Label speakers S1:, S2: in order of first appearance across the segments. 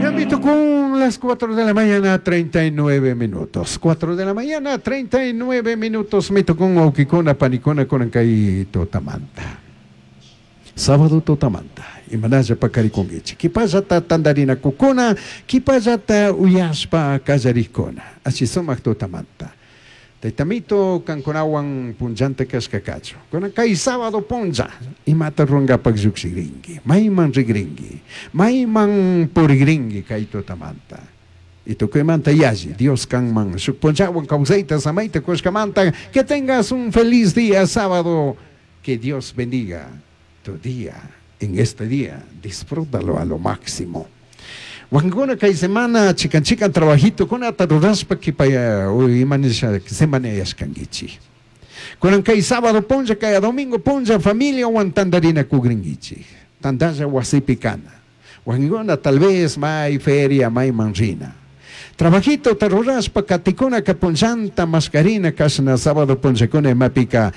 S1: Yamito con las 4 de la mañana 39 minutos. 4 de la mañana 39 minutos. Mito con wawkikuna panikuna kunan kay tutamanta. Sábado tutamanta. Imanalla pakarikunkichik. Kipallata tantarinakukuna, kipallata uyashpa kallarikuna. Ashi sumak tutamanta. Taytamito kankunawan punllanta kashka kachun. Kunan kay sábado punlla imata rungapak llukshikrinki, mayman rikrinki, mayman purikrinki kay tutamanta. Y tukuymanta yalli, Dios kanman shuk punllawan kawsayta samayta kushkamanta, que tengas un feliz día sábado, que Dios bendiga tu día. En este día, disfrútalo a lo máximo. Wakinkuna kay semana chikan chikan trabajito kunata rurashpa kipaya ima nisha semana yashkankichik. Kunan kay sábado punlla, kay domingo punlla familiawan tantarina kugrinkichik. Tantalla wasipi kana. Wakinkuna tal vez may feria, mayman rina. Trabajito ta rurashpa katikuna ka punllanta mascarina kashna sábado punllakuna imapika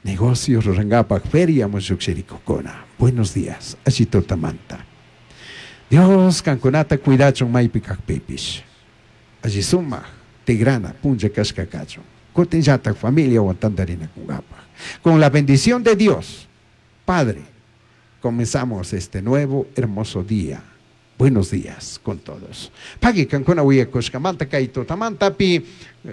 S1: negocio rurangapak feria mushukshirikukuna. Buenos días, alli tutamanta. Dios kankunata cuidachun maypi kakpipish. Alli sumak tigrana punlla kashka kachun. Kutinllatak familiawan tantarinakunkapak. Con la bendición de Dios, Padre, comenzamos este nuevo hermoso día. Buenos días con todos. Pagui kankuna wiyakushkamanta kay tutamantapi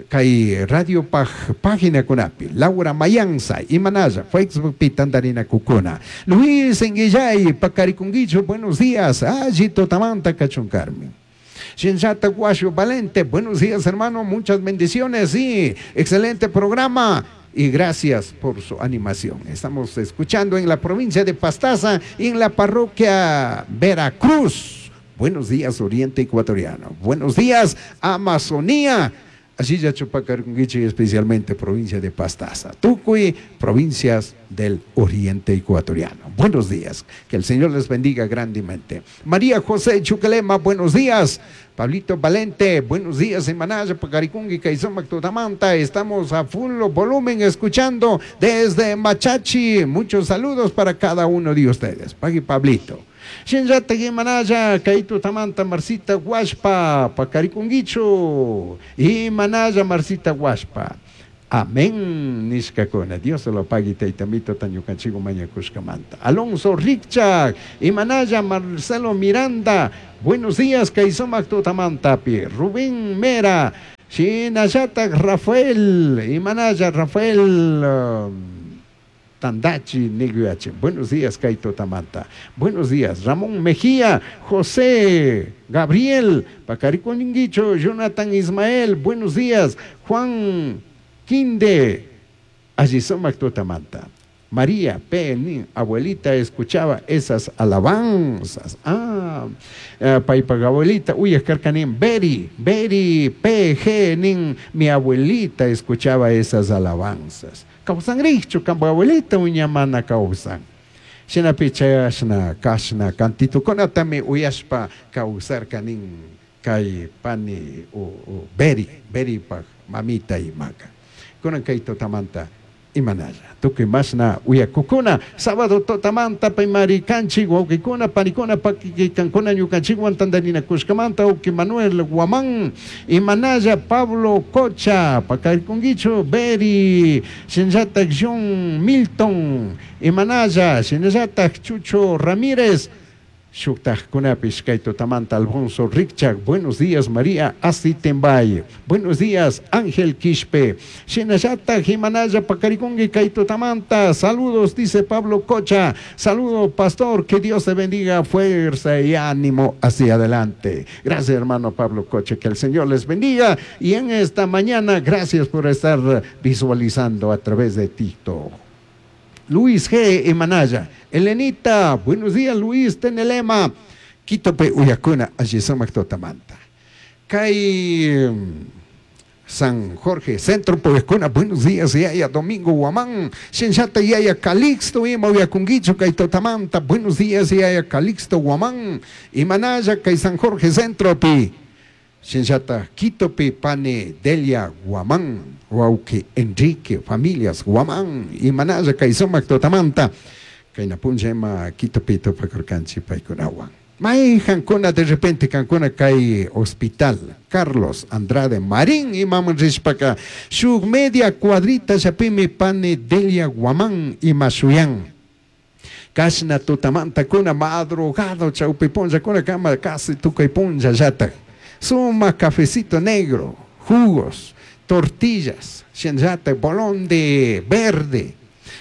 S1: kay radio paj, página kunapi. Laura Mayanza, Imanaya, Facebook pi tantarinakukuna. Luis Enguillay, Pacarikunguicho, buenos días. Alli tutamanta kachun Carmen. Shinshata Guasho Valente, buenos días hermano, muchas bendiciones, sí, excelente programa. Y gracias por su animación. Estamos escuchando en la provincia de Pastaza, en la parroquia Veracruz. Buenos días, Oriente Ecuatoriano. Buenos días, Amazonía. Así ya Chupacarunguichi, especialmente provincia de Pastaza. Tucuy, provincias del Oriente Ecuatoriano. Buenos días. Que el Señor les bendiga grandemente. María José Chuquelema, buenos días. Pablito Valente, buenos días. En Manaya, Pacaricungui, Caizomac, Tutamanta. Estamos a full volumen escuchando desde Machachi. Muchos saludos para cada uno de ustedes. Pagui Pablito. Shinllata Manaya, Kaito Tamanta, Marcita Huashpa, Pacaricunguicho, y Manaya, Marcita Huashpa. Amén, nishkakuna. Dios se lo pague, taytamito, tañukanchigo mañakushkamanta. Alonso Richard, Imanaya, Marcelo Miranda. Buenos días, Kaizomac Tutamantapi. Rubén Mera, Shinayata Rafael, Imanaya, Rafael. Tandachi Niguache. Buenos días, Kaito Tamanta. Buenos días, Ramón Mejía, José Gabriel, Pacariconinguicho, Jonathan Ismael. Buenos días, Juan Quinde, Ayisomac Tutamanta. María P. Nin, abuelita escuchaba esas alabanzas. Ah, paipa abuelita, uy, escarcanín, Beri, Beri, P. G. Nin, mi abuelita escuchaba esas alabanzas. Kausan richu, kambo abuelita, uñamana kausan. Shina pichayashna, kashna, cantito, konatami uyashpa kausarkanin, kay pani, o, Beri, Beri pa mamita y maca. Kunan kay totamanta, imanalla. Tukuy masna uyakukuna, sábado totamanta paymari kanchi, wawkikuna, panikuna, pakikankuna, ñukanchikwan tantarina kushkamanta, uki Manuel Guamán, Imanalla, Pablo Cocha, Pacarikunguicho, Beri, Shinyatak John Milton, Imanalla, Shinyatak Chucho Ramírez, Shuktajkunapish kay tutamanta Alfonso Richard, buenos días María Asitembay, buenos días Ángel Quispe, Shinayata Jimanaya Pacarikungi kay tutamanta, saludos dice Pablo Cocha, saludo pastor, que Dios te bendiga, fuerza y ánimo hacia adelante. Gracias hermano Pablo Cocha, que el Señor les bendiga y en esta mañana gracias por estar visualizando a través de TikTok. Luis G. Emanaya, Elenita, buenos días Luis Tenelema, Quitope Uyacuna, Ayisomac Totamanta. Kay San Jorge, Centro Uyacuna, buenos días, Yaya Domingo Guamán, Shenshata Yaya Calixto, Ima Uyacunguicho, Kay Totamanta, buenos días, Yaya Calixto Guamán, Imanaya, Kay San Jorge Centro Pi. Shinshata Quitope Pane Delia Guamán, Wauke Enrique, familias Guamán, Imanaya Kaisomac Totamanta, Kainapunjema Quitope Topacorcanchi Paikunawan. Maijancuna de repente cancuna kay hospital Carlos Andrade Marín imaman rishpaka shuk media cuadrita llapimi pani Delia Guamán ima shuyan. Kashna tutamantakuna madrugado chawpi punllakuna kama casi tukuy punllallatak. Sumak cafecito negro, jugos, tortillas, shinallatak bolón de verde,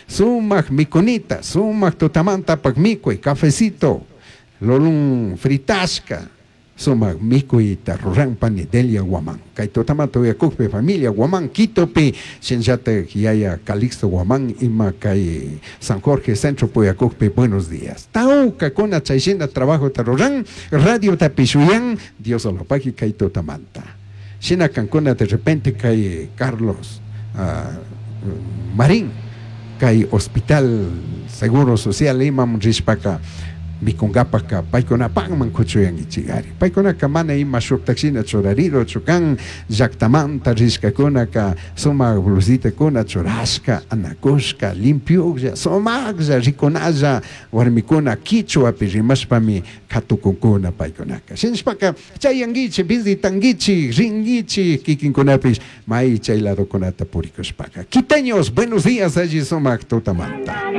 S1: sumak mikunita, sumak tutamantapak mikuy, cafecito, lulun fritashka, sumak mikuyta ruran pani Delia Guamán. Kay tutamanta uyakukpi familia Guamán Quitopi, shinallatak yaya Calixto Guamán ima kay San Jorge Centro uyakukpi buenos días. Tawkakuna chayshina trabajota ruran, radiotapish shuyan, Dios alopaki kay tutamanta. Shina kankuna de repente kay Carlos Marín, kay Hospital Seguro Social imam rishpaka mikunkapaka paykunapakman kuchuyankichikari. Paykunaka mana ima shuktakshina churariro chukan llaktamanta rishkakunaka sumak blusitakuna churashka anakushka limpiuklla sumaklla rikunalla warmikuna kichwapi rimashpami katukunkuna paykunaka. Shinashpaka chayankichik visitankichik rinkichik kikinkunapish may chay ladokunata purikushpaka. Quiteños, buenos días alli sumak tutamanta.